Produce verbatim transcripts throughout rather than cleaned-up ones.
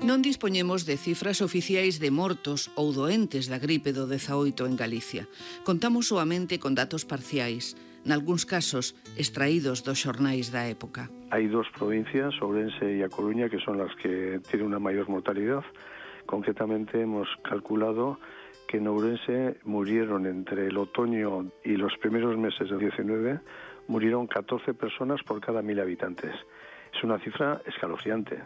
Non dispoñemos de cifras oficiais de mortos ou doentes da gripe do dezaoito en Galicia. Contamos soamente con datos parciais, nalgúns casos extraídos dos xornais da época. Hai dos provincias, Ourense e A Coruña, que son las que tienen una mayor mortalidad. Concretamente hemos calculado que en Ourense murieron entre el otoño y los primeros meses del diecinueve, murieron catorce personas por cada mil habitantes. Es una cifra escalofriante.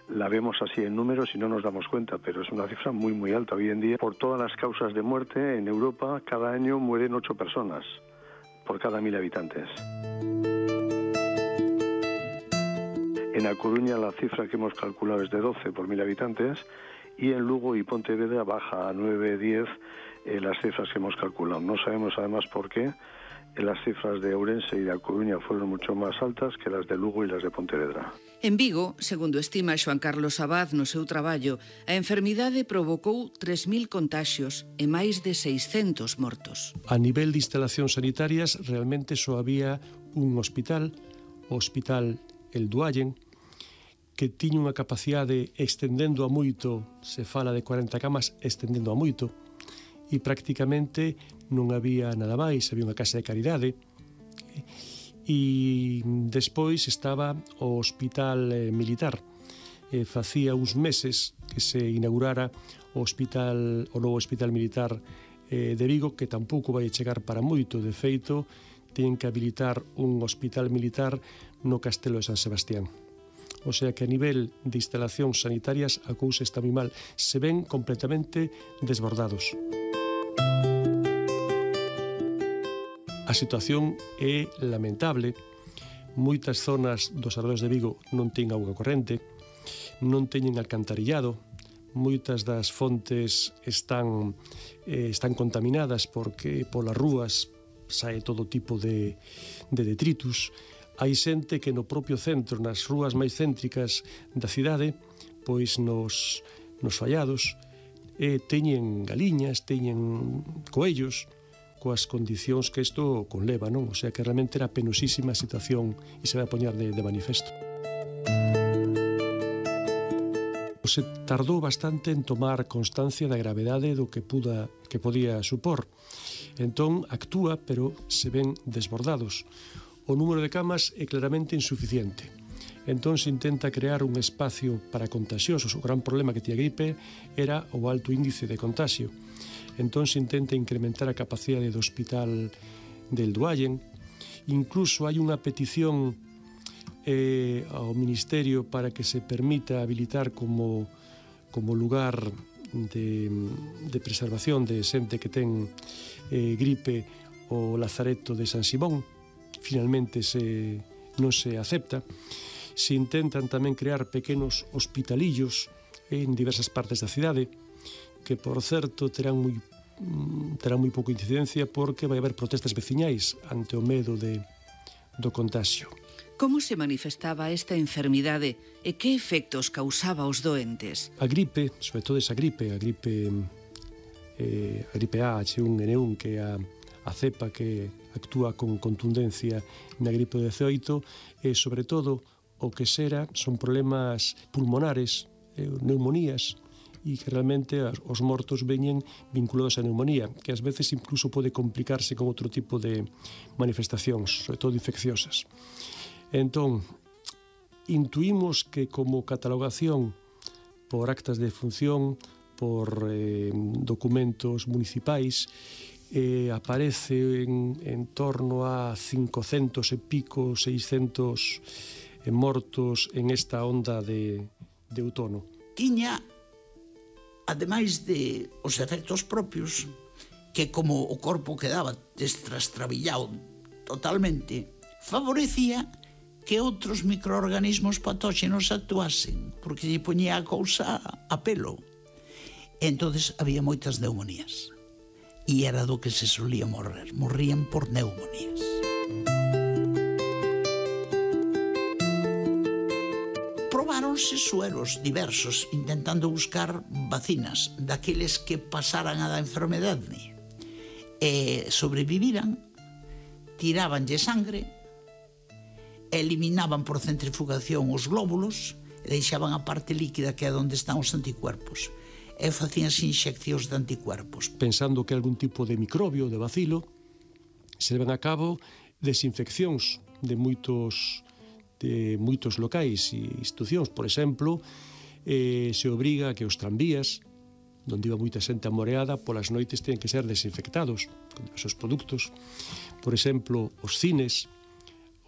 La vemos así en números y no nos damos cuenta, pero es una cifra muy, muy alta. Hoy en día, por todas las causas de muerte, en Europa, cada año mueren ocho personas por cada mil habitantes. En A Coruña la cifra que hemos calculado es de doce por mil habitantes y en Lugo y Pontevedra baja a nueve, diez eh, las cifras que hemos calculado. No sabemos además por qué. Las cifras de Ourense e de A Coruña fueron mucho máis altas que las de Lugo e las de Pontevedra. En Vigo, segundo estima Xoan Carlos Abad no seu traballo, a enfermidade provocou tres mil contaxios e máis de seiscentos mortos. A nivel de instalacións sanitarias, realmente só había un hospital, o Hospital El Duallen, que tiña unha capacidade extendendo a moito, se fala de cuarenta camas, extendendo a moito, e prácticamente non había nada máis, había unha casa de caridade e despois estaba o Hospital eh, Militar. Eh, facía uns meses que se inaugurara o hospital, o novo Hospital Militar eh, de Vigo, que tampouco vai chegar para moito. De feito, ten que habilitar un hospital militar no Castelo de San Sebastián. O sea que a nivel de instalacións sanitarias a cousa está moi mal, se ven completamente desbordados. A situación é lamentable. Moitas zonas dos arredores de Vigo non ten auga corrente, non teñen alcantarillado, moitas das fontes están, eh, están contaminadas porque polas rúas sae todo tipo de, de detritus. Hai xente que no propio centro, nas rúas máis céntricas da cidade, pois nos, nos fallados, eh, teñen galiñas, teñen coellos, coas condicións que isto conleva, non? O sea que realmente era penosísima a situación e se vai a poñer de, de manifesto. Se tardou bastante en tomar constancia da gravedade do que puda, que podía supor. Entón actúa, pero se ven desbordados. O número de camas é claramente insuficiente. Entón se intenta crear un espacio para contagiosos. O gran problema que tiña a gripe era o alto índice de contagio. Entón se intenta incrementar a capacidade do Hospital del Duallen. Incluso hai unha petición eh, ao Ministerio para que se permita habilitar como, como lugar de, de preservación de xente que ten eh, gripe o Lazareto de San Simón. Finalmente se, non se acepta. Se intentan tamén crear pequenos hospitalillos en diversas partes da cidade, que, por certo, terán moi, terán moi pouca incidencia porque vai haber protestas veciñais ante o medo de, do contagio. Como se manifestaba esta enfermidade e que efectos causaba aos doentes? A gripe, sobre todo esa gripe, a gripe eh, a gripe A, H uno N uno, que é a, a cepa que actúa con contundencia na gripe do dezaoito, e sobre todo o que xera son problemas pulmonares, eh, neumonías, e que realmente os mortos veñen vinculados á neumonía, que ás veces incluso pode complicarse con outro tipo de manifestacións, sobre todo infecciosas. Entón, intuímos que como catalogación por actas de defunción, por eh, documentos municipais, eh, aparece en, en torno a cincocentos e pico, seiscentos eh, mortos en esta onda de, de outono. Tiña, ademais de os efectos propios, que como o corpo quedaba destrastrabillado totalmente, favorecía que outros microorganismos patóxenos actuasen, porque lle poñía a cousa a pelo. Entonces había moitas neumonías. E era do que se solía morrer. Morrían por neumonías. Probáronse sueros diversos intentando buscar vacinas daqueles que pasaran a da enfermedade e sobreviviran, tirabanlle sangre, eliminaban por centrifugación os glóbulos e deixaban a parte líquida que é onde están os anticuerpos e facían inxeccións de anticuerpos. Pensando que algún tipo de microbio, de bacilo, se levan a cabo desinfeccións de moitos de moitos locais e institucións. Por exemplo, eh, se obriga a que os tranvías, onde iba moita xente amoreada, polas noites ten que ser desinfectados con diversos produtos. Por exemplo, os cines,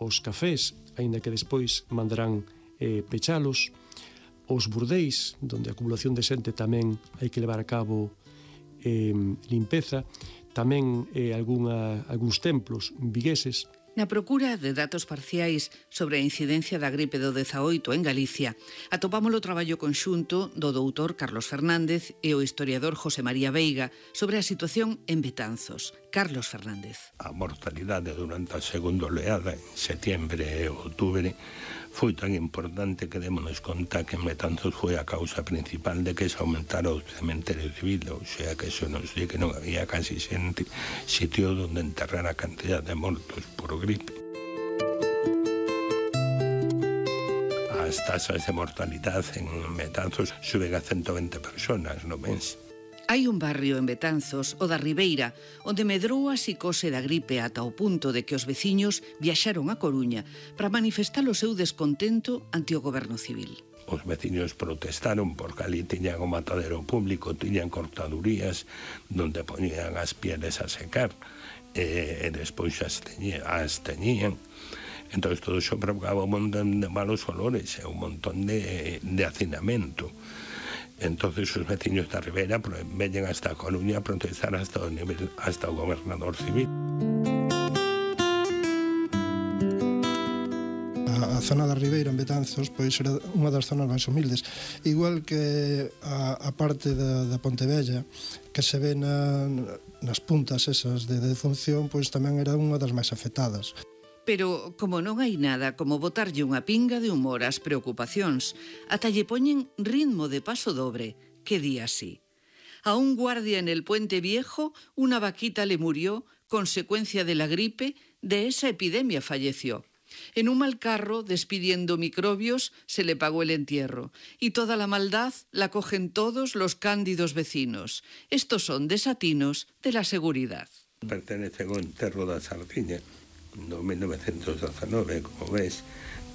os cafés, aínda que despois mandarán eh, pechalos, os burdeis, onde a acumulación de xente tamén hai que levar a cabo eh, limpeza, tamén eh, alguna, algúns templos vigueses. Na procura de datos parciais sobre a incidencia da gripe do dezaoito en Galicia, atopamos o traballo conxunto do doutor Carlos Fernández e o historiador José María Veiga sobre a situación en Betanzos. Carlos Fernández. A mortalidade durante a segunda oleada, en setembro e outubro, foi tan importante que démonos conta que en Betanzos foi a causa principal de que se aumentara o cementerio civil, ou sea que eso nos di que non había casi xente sitio onde enterrar a cantidad de mortos por gripe. As tasas de mortalidade en Betanzos suben a ciento veinte personas no mes. Hai un barrio en Betanzos, o da Ribeira, onde medrou a psicose da gripe ata o punto de que os veciños viaxaron a Coruña para manifestar o seu descontento ante o goberno civil. Os veciños protestaron porque ali tiñan o matadero público, tiñan cortadurías donde poñían as pieles a secar e, e despois as teñían. As teñían. Entón, todo iso provocaba un montón de malos olores e un montón de, de hacinamento. Entonces os veciños da Ribeira veñen hasta a Coruña a protestar hasta o nivel, hasta o gobernador civil. A, a zona da Ribeira en Betanzos pois era unha das zonas máis humildes, igual que a, a parte da, da Pontevella que se ve na, nas puntas esas de defunción, pois tamén era unha das máis afectadas. Pero, como non hai nada como botarlle unha pinga de humor ás preocupacións, ata lle poñen ritmo de paso dobre, que di así. A un guardia en el Puente Viejo, una vaquita le murió, consecuencia de la gripe, de esa epidemia falleció. En un mal carro, despidiendo microbios, se le pagó el entierro. Y toda la maldad la cogen todos los cándidos vecinos. Estos son desatinos de la seguridad. Pertenece ao enterro da Sardiña. No mil novecientos dezanove, como ves,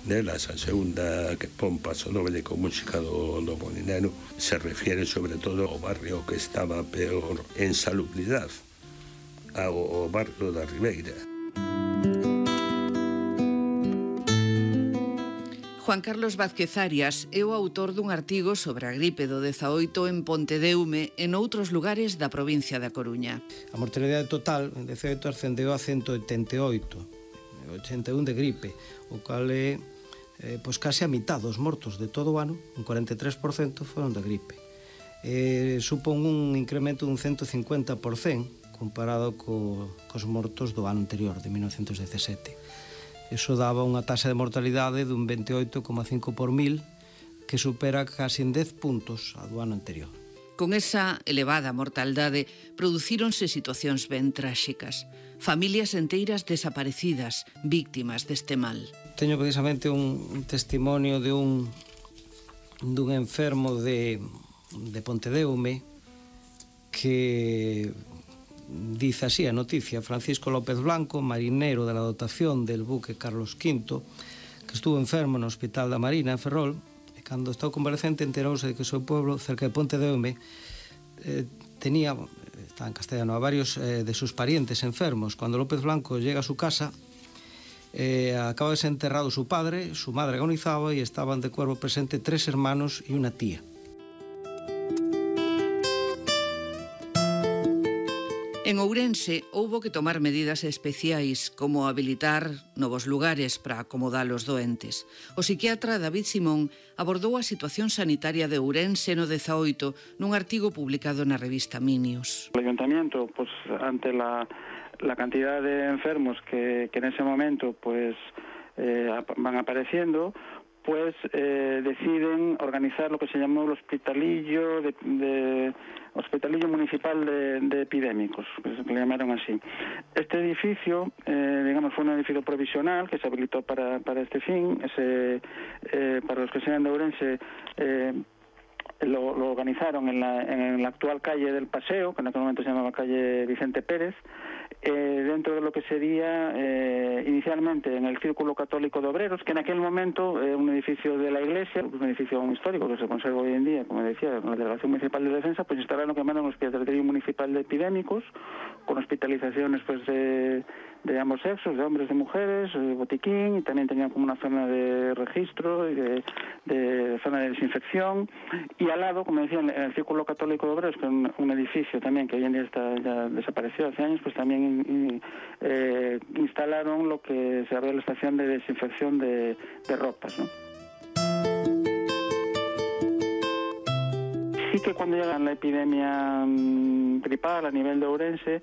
delas a segunda que pon paso doble con música do, do Molinero se refiere sobre todo ao barrio que estaba peor en salubridade, ao, ao barrio da Ribeira. Juan Carlos Vázquez Arias é o autor dun artigo sobre a gripe do dezaoito en Pontedeume e noutros lugares da provincia da Coruña. A mortalidade total en dezaoito ascendeu a ciento oitenta e oito, ochenta e un de gripe, o cal é eh, pois case a mitad dos mortos de todo o ano, un cuarenta e tres por cento foron de gripe. Eh, supón un incremento dun ciento cincuenta por cento comparado co, cos mortos do ano anterior, de mil novecientos dezasete. Iso daba unha taxa de mortalidade dun veintioito coma cinco por mil, que supera casi en dez puntos a do ano anterior. Con esa elevada mortaldade, producíronse situacións ben tráxicas. Familias enteiras desaparecidas, víctimas deste mal. Teño precisamente un, un testimonio de un dun enfermo de, de Pontedeume que dice así a noticia: Francisco López Blanco, marinero de la dotación del buque Carlos quinto, que estuvo enfermo no Hospital da Marina en Ferrol, e cando estou convalescente enterouse de que o seu pueblo, cerca de Pontedeume, eh, tenía, está en castellano, a varios eh, de sus parientes enfermos. Cuando López Blanco llega a su casa, eh, acaba de ser enterrado su padre, su madre agonizaba y estaban de cuerpo presente tres hermanos y una tía. En Ourense houbo que tomar medidas especiais como habilitar novos lugares para acomodar os doentes. O psiquiatra David Simón abordou a situación sanitaria de Ourense no dezaoito nun artigo publicado na revista Minius. El ayuntamiento, pues ante la, la cantidad de enfermos que, que en ese momento pues eh, van apareciendo, pues eh, deciden organizar lo que se llamó el Hospitalillo de, de Hospitalillo Municipal de, de Epidémicos, que se le llamaron así. Este edificio, eh, digamos, fue un edificio provisional que se habilitó para, para este fin. Ese, eh, para los que sean de Ourense, eh, Lo, lo organizaron en la, en la actual calle del Paseo, que en aquel momento se llamaba calle Vicente Pérez, eh, dentro de lo que sería eh, inicialmente en el Círculo Católico de Obreros, que en aquel momento era eh, un edificio de la Iglesia, un edificio histórico que se conserva hoy en día, como decía, en la Delegación Municipal de Defensa, pues instalaron lo que llamaron el Hospitalillo Municipal de Epidémicos, con hospitalizaciones pues de, de ambos sexos, de hombres y mujeres, eh, botiquín, y también tenían como una zona de registro y de, de zona de desinfección, y al lado, como decía, en el Círculo Católico de Obreros, que es un, un edificio también que hoy en día está ya desapareció hace años, pues también y, eh, instalaron lo que se llama la estación de desinfección de, de ropas, ¿no? Sí que cuando llega la epidemia mmm, gripal a nivel de Ourense,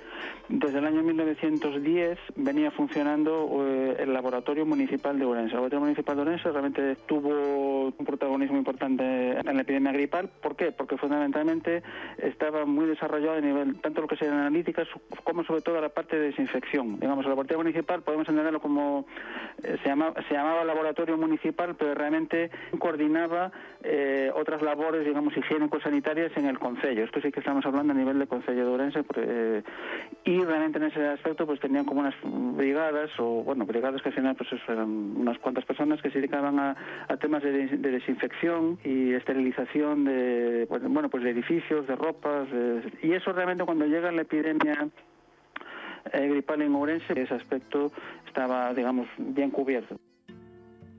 desde el año mil novecientos diez venía funcionando eh, el Laboratorio Municipal de Ourense. El Laboratorio Municipal de Ourense realmente tuvo un protagonismo importante en la epidemia gripal. ¿Por qué? Porque fundamentalmente estaba muy desarrollado a nivel, tanto lo que sean analíticas como sobre todo la parte de desinfección. Digamos, el Laboratorio Municipal podemos entenderlo como, eh, se, llama, se llamaba Laboratorio Municipal, pero realmente coordinaba eh, otras labores, digamos, higiénico-sanitarias en el concello. Esto sí que estamos hablando a nivel de concello de Ourense, eh, y realmente en ese aspecto pues tenían como unas brigadas, o bueno, brigadas que al final pues eso, eran unas cuantas personas que se dedicaban a, a temas de, de desinfección y esterilización de, bueno, pues de edificios, de ropas, de, y eso realmente cuando llega la epidemia eh, gripal en Ourense, ese aspecto estaba, digamos, bien cubierto.